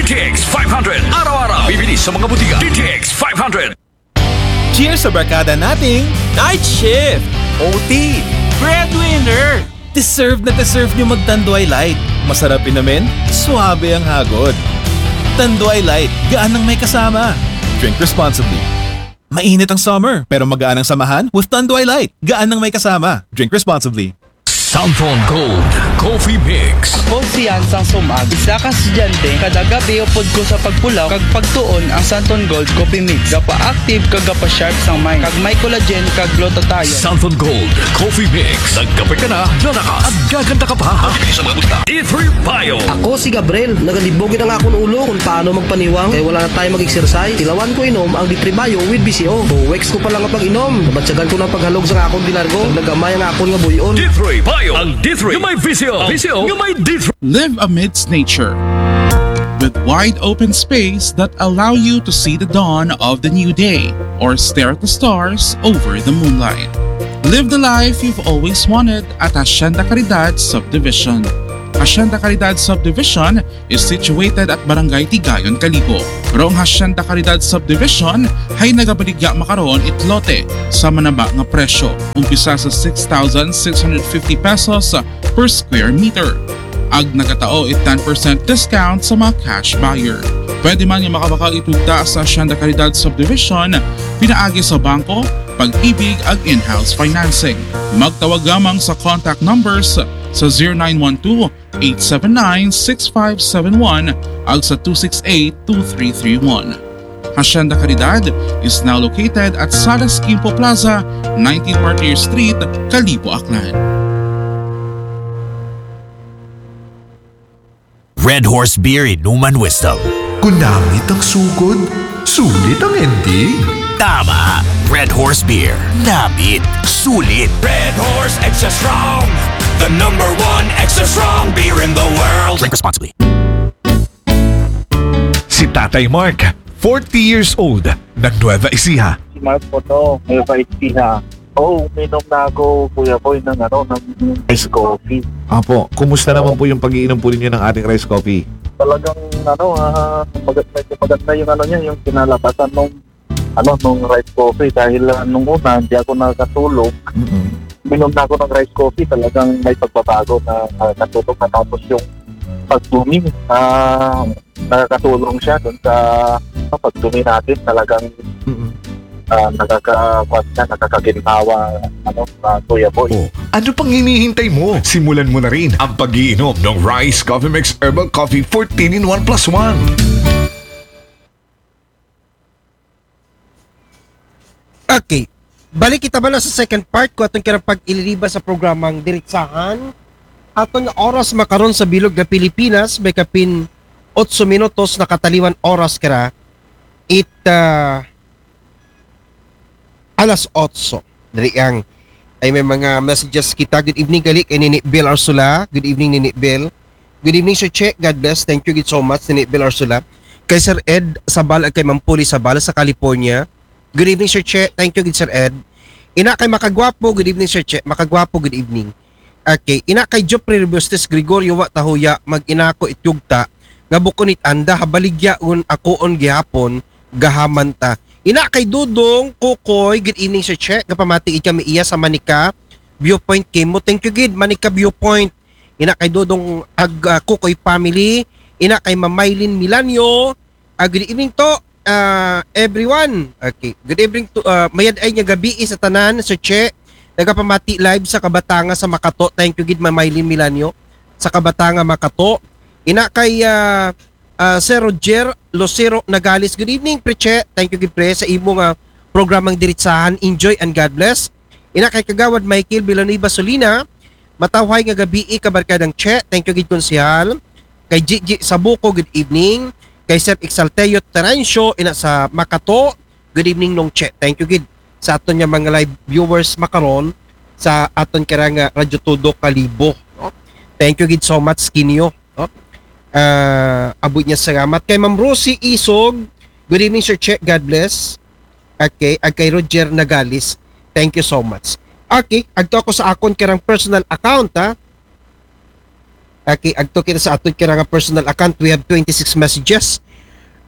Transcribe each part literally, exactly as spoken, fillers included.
T X five hundred. Araw-araw. Bibili sa mga butika. D T X five hundred. Cheers sa barkada nating Night shift! O T. Breadwinner! Deserve na deserve nyo mag-Tanduay Light. Masarap inumin, suabe ang hagod. Tanduay Light, gaan ng may kasama. Drink responsibly. Mainit ang summer, pero magaan ang samahan with Tanduay Light. Gaan ng may kasama. Drink responsibly. Santon Gold Coffee Mix. Ako si Yansang Sumag, isa ka estudyante. Kada gabi upod ko sa pagpulaw kag pagtuon ang Santon Gold Coffee Mix. Gapa-active kag gapa-sharp sang mind. Kag may collagen kag glutathione. Santon Gold Coffee Mix. Nagkape ka na, lalakas at gaganda ka pa. Bibili sa mga butika. D three Bio. Ako si Gabriel. Nagalibog ang akong ulo kung paano magpaniwang kay wala na tayo mag-exercise. Tilawan ko inom ang D three Bio with B C O. Two weeks ko pa lang ang pag-inom. Nabatyagan ko ng paghalog sa akong dinargo. Nagamay ang akong nga buyon. D three Bio. Ang D three nga may V C O. V C O nga may D three. Live amidst nature with wide open space that allow you to see the dawn of the new day or stare at the stars over the moonlight. Live the life you've always wanted at Hacienda Caridad Subdivision. Hacienda Caridad Subdivision is situated at Barangay Tigayon, Kalibo. Rong Hacienda Caridad Subdivision ay nagabaligya makaron it lote sa manaba nga presyo, umpisa sa six thousand six hundred fifty pesos per square meter. Ag nagatao it ten percent discount sa mga cash buyer. Pwede man nga makabakal itugta sa Hacienda Caridad Subdivision pinaagi sa bangko, pag-ibig ag in-house financing. Magtawag lamang sa contact numbers sa zero nine one two, eight seven nine, six five seven one ag sa two six eight, two three three one. Hacienda Caridad is now located at Salas Quimpo Plaza, nineteen Martyr Street, Kalibo, Aklan. Red Horse Beer, inuman wisdom. Kung namit ang sugod, sulit ang ending. Tama. Red Horse Beer. Namit. Sulit. Red Horse Extra Strong. The number one extra strong beer in the world. Drink responsibly. Si Tatay Mark, forty years old, ng Nueva Ecija. Si Mark po to, Nueva Ecija. Oh, uminom na ako, Kuya Boy, ng ano, ng ice coffee. Apo, kumusta naman po yung pag-iinom po ninyo ng ating rice coffee? Talagang ano, ah, maganda, medyo maganda yung ano niya, yung kinalabasan nung ano, nung rice coffee dahil ah, nung una hindi ako nakakatulog. Mm-mm. Uminom na ako ng rice coffee, talagang may pagbabago na ah, natulog na, tapos yung pagdumi, ah, nakakatulong siya dun sa ah, pagdumi natin, talagang Mm-mm. ah, nakaka-, kwan siya, nakakaginhawa, ano, ah, Kuya Boy. Oh, ano pang hinihintay mo? Simulan mo na rin ang pag-iinom ng Rice Coffee Mix Herbal Coffee fourteen in one plus one. Okay. Balik kita bala sa second part ko atong kirang pag-ililiba sa programang Diritsahan. Aton nga oras makaron sa bilog nga Pilipinas, may kapin otso minutos nakataliwan oras kira. It ah, alas otso. Diri ang ay may mga messages kita. Good evening, gali kay Nini Bill Arsula. Good evening, Nini Bill. Good evening, Sir Che. God bless. Thank you gid so much, Nini Bill Arsula. Kay Sir Ed Sabal ag kay Ma'am Puli Sabal sa California. Good evening, Sir Che. Thank you gid, Sir Ed. Ina kay Makagwapo. Good evening, Sir Che. Makagwapo, good evening. Okay, ina kay Jopri Rebustes Gregorio, wa tahuya mag-inako ityugta nga bukon it anda habaligya un akoon gihapon gahaman ta. Ina kay Dudong Kukoy, good evening, Sir Che. Gapamati ika mi iya sa Manika Viewpoint kimo. Thank you gid, Manika Viewpoint. Ina kay Dudong ag ah, Kukoy family. Ina kay Mamaylin Milanio. Ah, good evening to ah, everyone. Okay. Good evening to ah, mayad ay nga gabi sa tanan, Sir Che. Nagapamati live sa Kabatanga sa Makato. Thank you gid, Mamaylin Milanio, sa Kabatanga, Makato. Ina kay ah, ah, Sir Roger Lucero Nagalis. Good evening, Pre Che. Thank you gid, Pre, sa imo nga programang Diritsahan. Enjoy and God bless. Ina kay Kagawad Michael Villanueva Solina. Matawhay nga gabi, kabarkadang Che. Thank you gid, Konsehal. Kay Gigi Sabuco, good evening. Kay Sir Exalteo Terencio, ina sa Makato, good evening, Nong Che. Thank you gid sa aton nga mga live viewers makaron sa aton karang ah, Radyo Todo Kalibo, no? Thank you gid so much kinyo, no? Ah, abot nga salamat kay Ma'am Rosie Isog. Good evening, Sir Che. God bless. Okay, ag kay Roger Nagalis. Thank you so much. Okay, agto ako sa akon karang personal account, ha. Okay, adto kita sa aton kira nga personal account. We have twenty-six messages.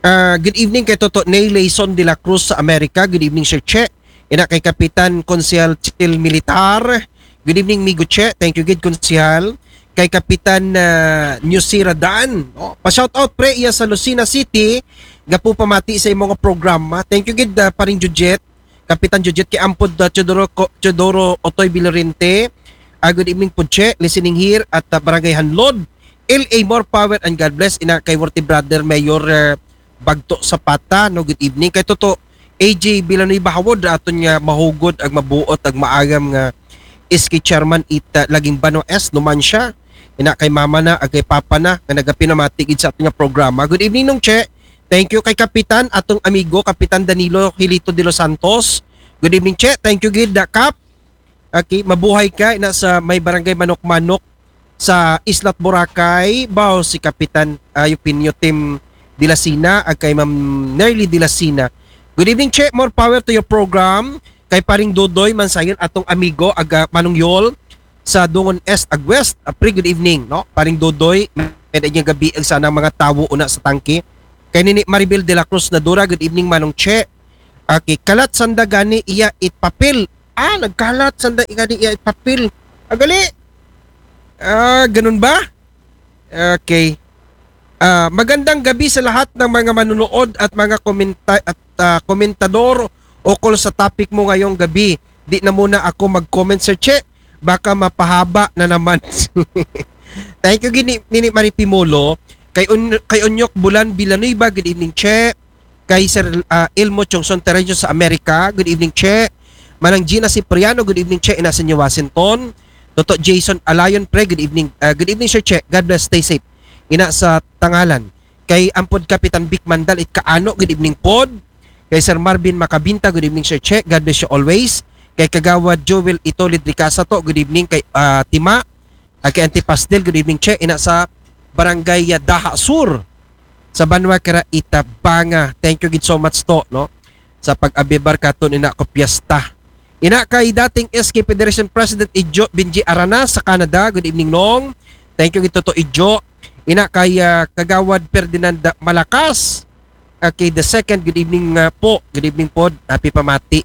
Ah, good evening kay Toto Nay Layson de la Cruz sa Amerika. Good evening, Sir Che. Ina kay Kapitan Konsehal Chil Militar. Good evening, Migo Che. Thank you gid, Konsehal. Kay Kapitan uh, Newsira Dan. Oh, pa-shout out, pre, iya sa Lucena City. Gapu pamati sa imong programa. Thank you gid, uh, paring Jujet. Kapitan Jujet kay Ampod uh, Teodoro, Teodoro Otoy Vilorente. Uh, good evening po, Che. Listening here at uh, Barangay Hanlod. L A, more power and God bless. Ina kay worthy brother Mayor uh, Bagto Zapata, no, good evening. Kay Toto A J Villanueva Hawod, aton nga mahugod ag mabuot ag maagam nga S K chairman ita laging Bano S, numan siya. Ina kay mama na, ag kay papa na, nga nagapinamati gid sa aton nga programa. Good evening, Nong Che. Thank you kay Kapitan, atong amigo, Kapitan Danilo Hilito de los Santos. Good evening, Che. Thank you gid, da, Kap. Okay, mabuhay ka ina sa may barangay Manok-Manok sa Islat Boracay. Bao si Kapitan uh, Eugenio Tim Dilasina ag kay Ma'am Nerly Dilasina. Good evening, Che. More power to your program. Kay paring Dodoy Mansayon, atong amigo aga Manong Yol sa Dungon Est ag West. Uh, pre, good evening, no? Paring Dodoy, may niya gabi ang sana mga tawo una sa tangke. Kay Nini Maribel de la Cruz Nadura, good evening, Manong Che. Okay, kalat sanda gani iya it papel. Ah, nagkalat sanda gani iya it papel. Agali. Ah, ganun ba? Okay. Ah, magandang gabi sa lahat ng mga manunood at mga komenta at ah, komentador ukol sa topic mo ngayong gabi. Di na muna ako mag-comment, Sir Che. Baka mapahaba na naman. Thank you gini Nini Marie Pimulo. Kay, un, kay Onyok Bulan Villanueva, good evening, Che. Kay Sir uh, Elmo Chongson Tereño sa Amerika, good evening, Che. Manang Gina Cipriano, good evening, Che. Ina sa New Washington. Toto Jason Alayon, pre, good evening. Uh, good evening, Sir Che. God bless, stay safe. Ina sa Tangalan. Kay Ampod Kapitan Vic Mandal, it kaano, good evening, Pod. Kay Sir Marvin Macabinta, good evening, Sir Che. God bless you always. Kay Kagawad Joel Itolid Ricasa to, good evening. Kay uh, Tima, uh, kay Auntie Pastel, good evening, Che. Ina sa Barangay Daha Sur sa Banwa Kara Itabanga. Thank you gid so much to, no? Sa pag-abibar katon ina ko piyesta. Ina kay dating S K Federation President Ijo Benji Arana sa Canada. Good evening, Nong. Thank you gid to Ijo. Ina kay uh, Kagawad Ferdinand Malakas. Okay, the second, good evening uh, po. Good evening po. Happy pamati.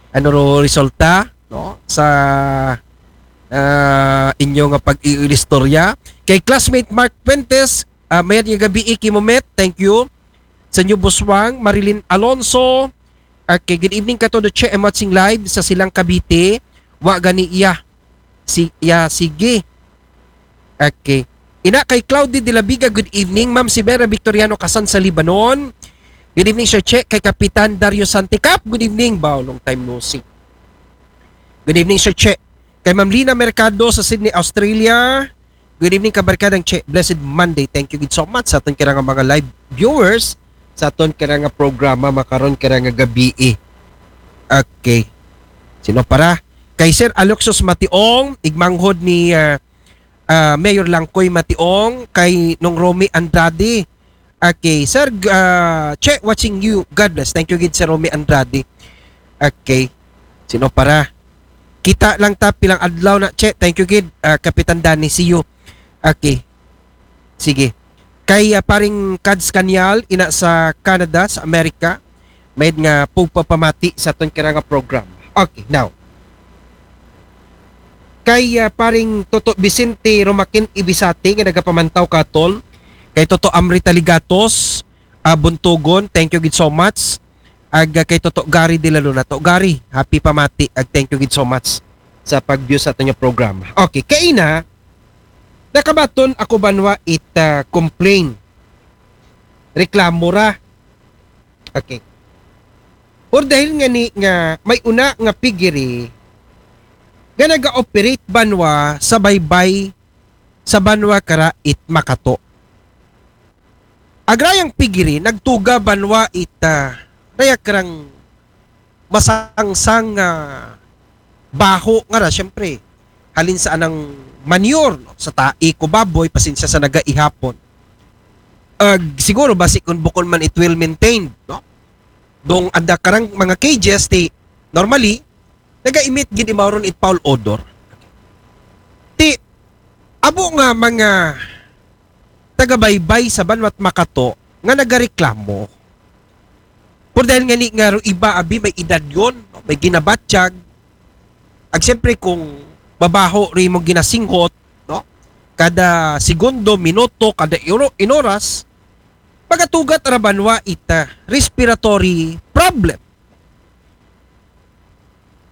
Ano ro resulta, no? Sa uh, inyo nga pag-iilistorya. Kay classmate Mark Fuentes, uh, mayad nga gabi, Iki Momet. Thank you. Sa New Buswang, Marilyn Alonso. Okay, good evening ka to the Che. I'm watching live sa Silang Cavite. Wa gani iya. Si, ya, sige. Okay. Ina kay Claudia de la Viga, good evening. Ma'am si Vera Victoriano Kasan sa Lebanon. Good evening, Sir Che. Kay Kapitan Dario Santicap, good evening. Bao, long time no see. Good evening, Sir Che. Kay Ma'am Lina Mercado sa Sydney, Australia. Good evening, kabarkadang Che. Blessed Monday. Thank you gid so much sa aton kira nga mga live viewers sa aton kira nga programa makaron kira nga gabi. Okay. Sino para? Kay Sir Aloxios Mationg, igmanghod ni uh, uh, Mayor Langkoy Mationg, kay Nong Romy Andrade. Okay, Sir uh, Che, watching you. God bless. Thank you gid, Sir Romy Andrade. Okay. Sino para? Kita lang ta pilang adlaw na, Che. Thank you gid, uh, Kapitan Danny. See you. Okay. Sige. Kay uh, paring Kads Kanyal, ina sa Canada, sa Amerika, mayad nga pugpapamati sa aton kira nga program. Okay, now. Kay uh, paring Toto Vicente Romakin Ibisate nga nagapamantaw katon, kay Toto Amri Taligatos, uh, Buntugon, thank you gid so much. Ag uh, kay Toto Gary de la Luna. To Gary, happy pamati. Ag thank you gid so much sa pag-view sa aton nga programa. Okay, kaina, nakabaton ako banwa it uh, complain. Reklamo ra. Okay. Or dahil nga ni nga may una nga piggery nga naga-operate banwa sa baybay sa banwa kara it Makato. Agrayang piggery nagtuga banwa it uh, raya karang masangsang nga uh, baho nga ra, syempre, halin sa anang manure, no? Sa tai ko baboy, pasensya sa nagaihapon. Ag, siguro, basi kung bukon man it well maintained, no? Dong anda karang mga cages, ti, normally, naga-emit gid imawron it foul odor. Ti, Amo nga mga tagabaybay sa banwa't Makato nga nagareklamo. Pero dahil nga ni nga ro iba abi may edad yon, may ginabatyag. Ag siyempre kung mabaho rin mong ginasinghot, no? Kada segundo, minuto, kada ino- inoras, magatugat ra banwa ita respiratory problem.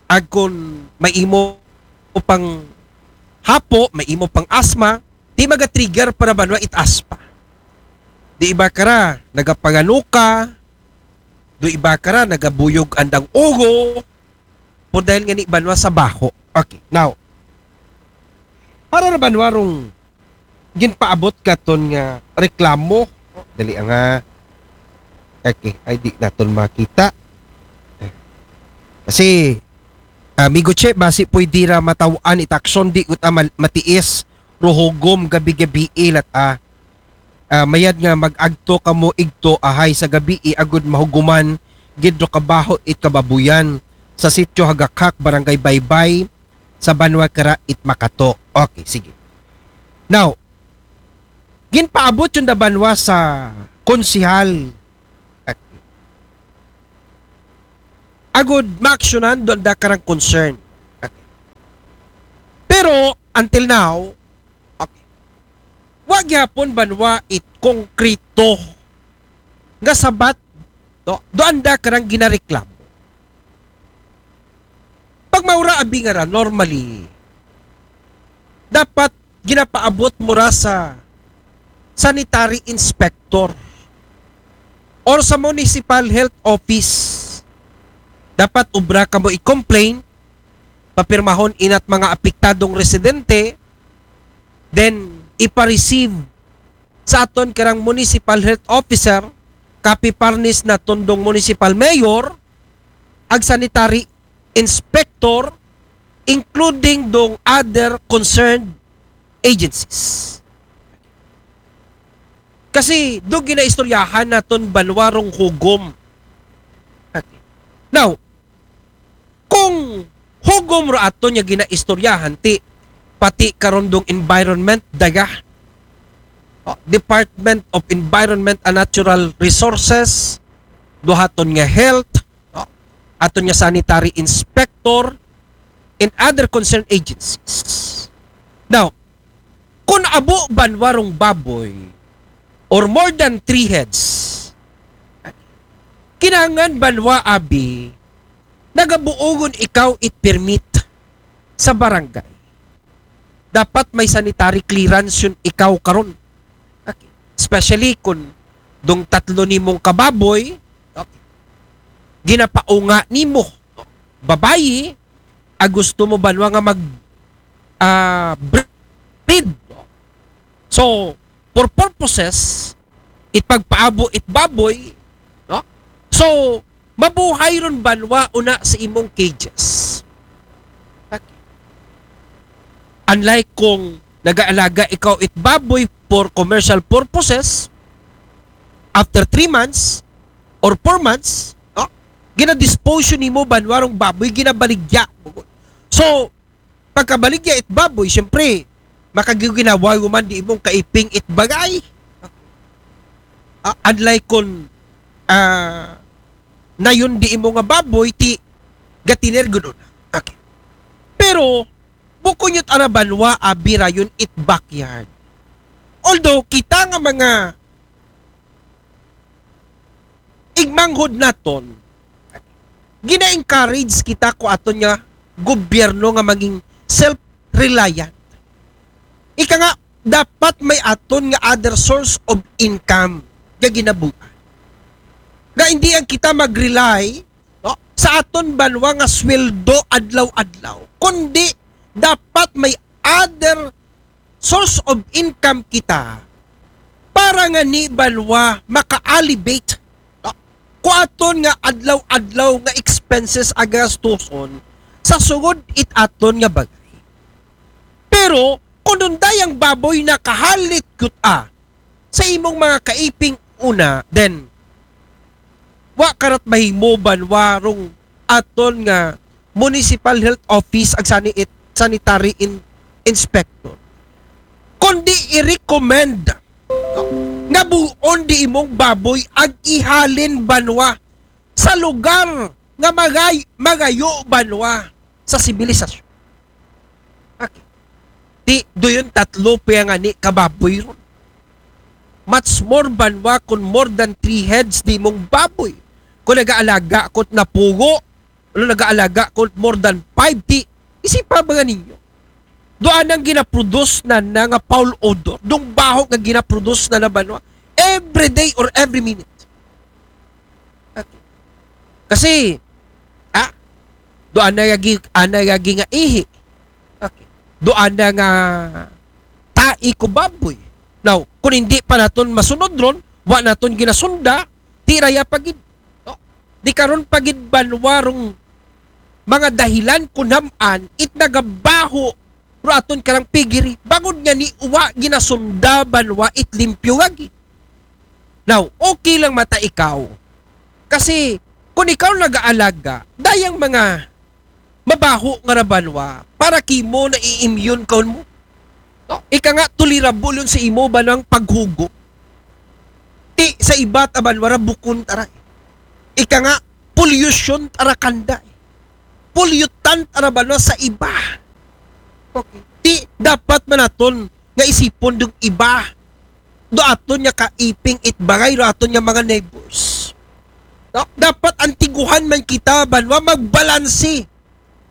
Ag kun may imo pang hapo, may imo pang asma, di maga-trigger para banwa it asma. Di iba kara, nagapanganuka, do iba kara, nagabuyog andang ugo, po dahil nga ni banwa sa baho. Okay, now, para ra banwa rong ginpaabot katon nga reklamo. Dali nga. Okay, ay di naton makita. Kasi, amigo Che, basi pwede ra mataw-an it aksyon, di gud ta mal- matiis, ruhugom gabi-gabi ilat ah. Ah, mayad nga mag-agto kamo igto ahay sa gabi agud mahuguman gid ro kabaho it kababuyan sa sitio Hagakhak, Barangay Baybay, sa banwa kara it Makato. Okay, sige. Now, ginpaabot yon da banwa sa konsehal. Agud maaksyonan do anda karang concern. Pero until now, okay, wa gihapon banwa it konkreto nga sabat, no? Do anda karang ginareklamo. Pag maura abi nga ra, normally, dapat ginapaabot mo ra sa sanitary inspector or sa municipal health office. Dapat ubra kamo i-complain, papirmahon inat mga apektadong residente, then ipa-receive sa aton karang municipal health officer, copy parnis naton dong municipal mayor, ag sanitary inspector, including dong other concerned agencies. Kasi do ginaistoryahan naton banwa rong hugom. Okay. Now, kung hugom ra aton nga ginaistoryahan, ti pati karon dong environment, daga, oh, Department of Environment and Natural Resources, do haton nga health, no? Aton nga sanitary inspector, and other concerned agencies. Now, kung amo banwa rong baboy or more than three heads, kinahanglan banwa abi nagabuogon ikaw it permit sa barangay. Dapat may sanitary clearance yon ikaw karon. Okay. Especially kung dong tatlo nimong kababoy, okay, ginapaunga nimo, babayi, a gusto mo banwa nga mag, ah, breed. So, for purposes, it pagpaabo it baboy, no? So, mabuhay ron banwa una sa imong cages. Unlike kung nagaalaga ikaw it baboy for commercial purposes, after three months or four months, no? Ginadispose nimo banwa rong baboy, ginabaligya. So, pagkabaligya it baboy, siyempre, makagiginawa man di imong kaiping it bagay. Ah, unlike kung, ah, nayon di imo nga baboy, ti gatiner gud una. Okay. Pero, bukon yun ara banwa, abi ra yon it backyard. Although, kita nga mga igmanghod naton, gina-encourage kita ko aton nga gobyerno nga maging self-reliant. Ika nga, dapat may aton nga other source of income nga ginabuhat. Nga hindi ang kita mag-rely, no, sa aton banwa nga sweldo adlaw-adlaw, kundi dapat may other source of income kita para nga ni banwa maka-alleviate, no, ko aton nga adlaw-adlaw nga expenses a gastuson sa sugod it aton nga bagay. Pero kung dunday ang baboy nakahalit gud a sa imong mga kaiping una, then wa karat mahimo banwa rong aton nga municipal health office ag sani it sanitary in, inspector. Kundi i-recommend nga buon di imong baboy ag ihalin banwa sa lugar nga magay-, magayo banwa sa sibilisasyon. Okay. Ti, duyon tatlo pa nga ni kababoy ron. Much more banwa kung more than three heads di mong baboy. Kung nagaalaga ko't napugo, ano nagaalaga ko't more than five, ti, isipa ba nga ninyo? Doon ang ginaproduce na na nga foul odor. Dong baho nga ginaproduce na na banwa. Every day or every minute. Okay. Kasi, ah, doon na yagi, ana yagi nga ihi. Okay. Doon na nga tai ko baboy. Now, kung hindi pa naton masunod ron, wa naton ginasunda, ti raya pagid. No? Di karon pagid banwa rong mga dahilan kung hamaan it nagabaho ro aton karang pigiri. Bangod nga ni uwa ginasunda banwa it limpyo lagi. Now, okay lang mata ikaw. Kasi, kung ikaw nagaalaga, dayang mga mabaho nga ra banwa, para kimo na i-immune ka mo. No? Ika nga, tolerable yun sa imo banwang paghugo. Ti sa iba ta banwa ra bukon tara. Ika nga, pollution tara kanda. Pollutant tara banwa sa iba. Okay. Ti dapat man naton nga isipon dong iba. Do aton nga kaiping it bagay, do aton nga mga neighbors. No? Dapat antiguhan man kita banwa magbalanse.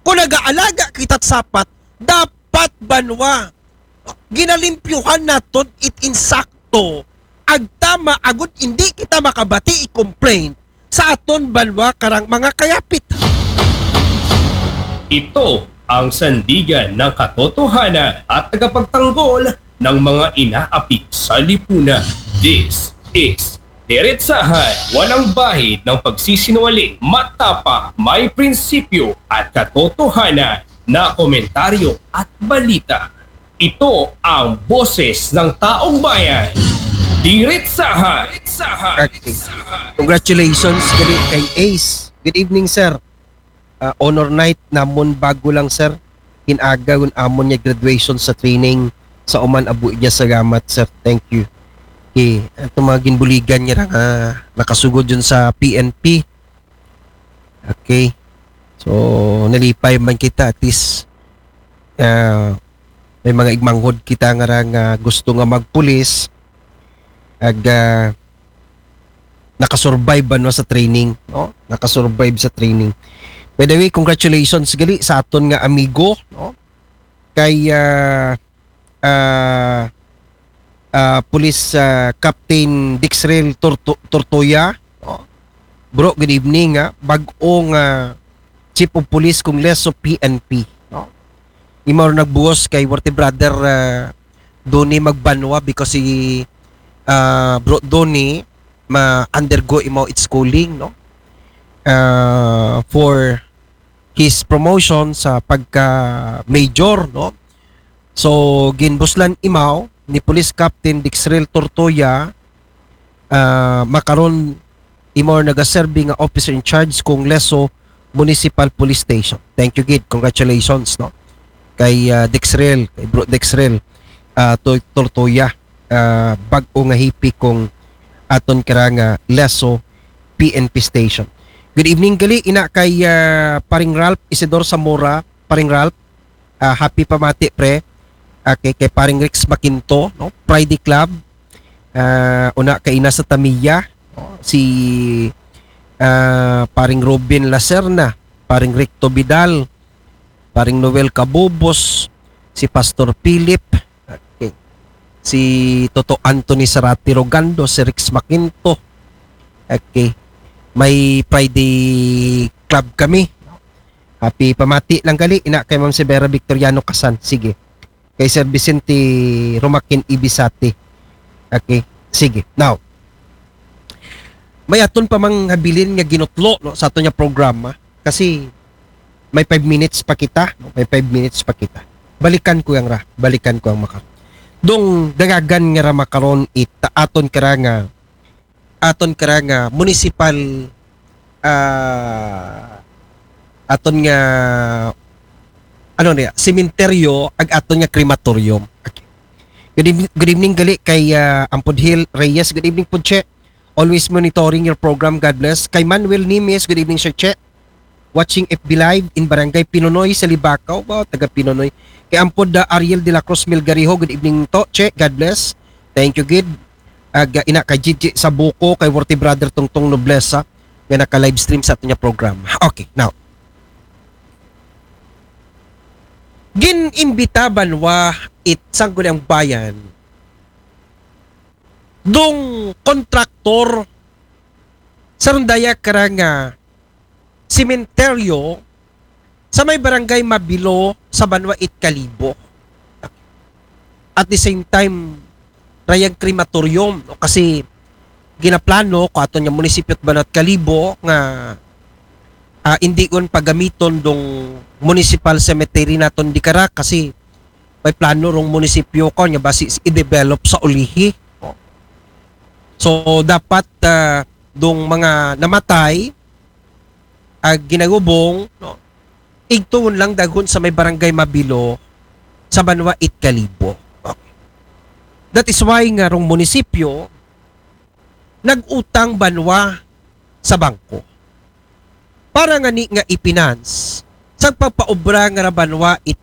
Kung nagaalaga kita't sapat, dapat banwa ginalimpyuhan naton it insakto. Agtama agud hindi kita makabati i-complain sa aton banwa karang mga kayapit. Ito ang sandigan ng katotohanan at tagapagtanggol ng mga inaapit sa lipunan. This is Diretsahan, walang bahid ng pagsisinungaling, matapang, may prinsipyo at katotohanan na komentaryo at balita. Ito ang boses ng taong bayan. Diretsahan. Okay. Congratulations gali kay Ace. Good evening, sir. Ah, honor night namon bago lang, sir. Kinaga kun amon nga graduation sa training sa uman abu niya sa gamat, sir. Thank you. Okay. Ato mga ginbuligan niya nga nakasugod yun sa P N P. Okay. So, nalipay man kita at least ah, may mga igmanghod kita nga ra nga gusto nga magpulis ag ah, nakasurvive ba no sa training, no? Nakasurvive sa training. By the way, congratulations gali sa aton nga amigo, no? Kay ah, ah, ah, Police ah, Captain Dixrel Torto- Tortoya, no? Bro, good evening ha. Bag-ong ah, Chief of Police kung leso P N P, no? Imaw nagbuhos kay Worthy Brother ah, Donnie magbanwa because si ah, Bro Donnie ma-undergo imaw its schooling, no? Ah, for his promotion sa pagka major, no? So, ginbuslan imaw ni Police Captain Dixrel Tortoya ah, makaron imaw nagaserbi nga officer in charge kung Leso Municipal Police Station. Thank you gid. Congratulations, no? Kay ah, Dexrel, kay Bro Dexrel ah, Tor- Tortoya, ah, bag-o nga hipi kung aton kara nga Leso P N P Station. Good evening gali ina kay ah, Paring Ralph Isidor Zamora, Paring Ralph. Ah, happy pamati pre. Okay, kay Paring Rex Makinto, no? Pride Club. Ah, una kay ina sa Tamiya, no? Si ah, Paring Robin Lacerna, Paring Ricto Vidal, Paring Noel Cabubos, si Pastor Philip, okay. Si Toto Anthony Sarati Rogando, si Rex Makinto. Okay. May Pride Club kami. Happy pamati lang gali ina kay Ma'am Severa Victoriano Kasan. Sige. Kay Sir Vicente Romakin Ibisate. Okay. Sige. Now, may aton pa mang habilin nga ginutlo no sa aton nga programa kasi may five minutes pa kita, no? May five minutes pa kita. Balikan ko yang ra, balikan ko ang maka. Dong dagagan nga ra makaron it aton kara nga aton kara nga municipal ah, aton nga ano niya, sementeryo ag aton nga crematorium. Okay. Good evening, good evening gali kay ah, Ampod Hill Reyes. Good evening po, Che. Always monitoring your program. God bless. Kay Manuel Nimes, good evening, Sir Che. Watching F B Live in Barangay Pinonoy sa Libacao. Wow, taga Pinonoy. Kay Ampod ah, Ariel de la Cruz Milgarijo, good evening to, Che. God bless. Thank you, gid. Ag ah, ina kay Gigi Sabuko, kay Worthy Brother Tungtong Noblesa nga naka-livestream sa aton nga program. Okay, now. Gin-imbita banwa it Sangguniang Bayan dong kontraktor sa rondaya karang ah, sementeryo sa may barangay Mabilo sa banwa it Kalibo. At the same time, rayag crematorium, no? Kasi ginaplano ko aton nga munisipyo at banwa it Kalibo nga ah, indion pagamiton dong municipal cemetery naton di kara kasi may plano rong munisipyo ko nga basi i-develop sa ulihi. So dapat ah, dong mga namatay ag ginagubong, no, igtuon lang daghon sa may barangay Mabilo sa banwa it Kalibo. Okay. That is why nga rong munisipyo nag-utang banwa sa bangko para ngani nga i-finance sa pagpaobra nga ra banwa it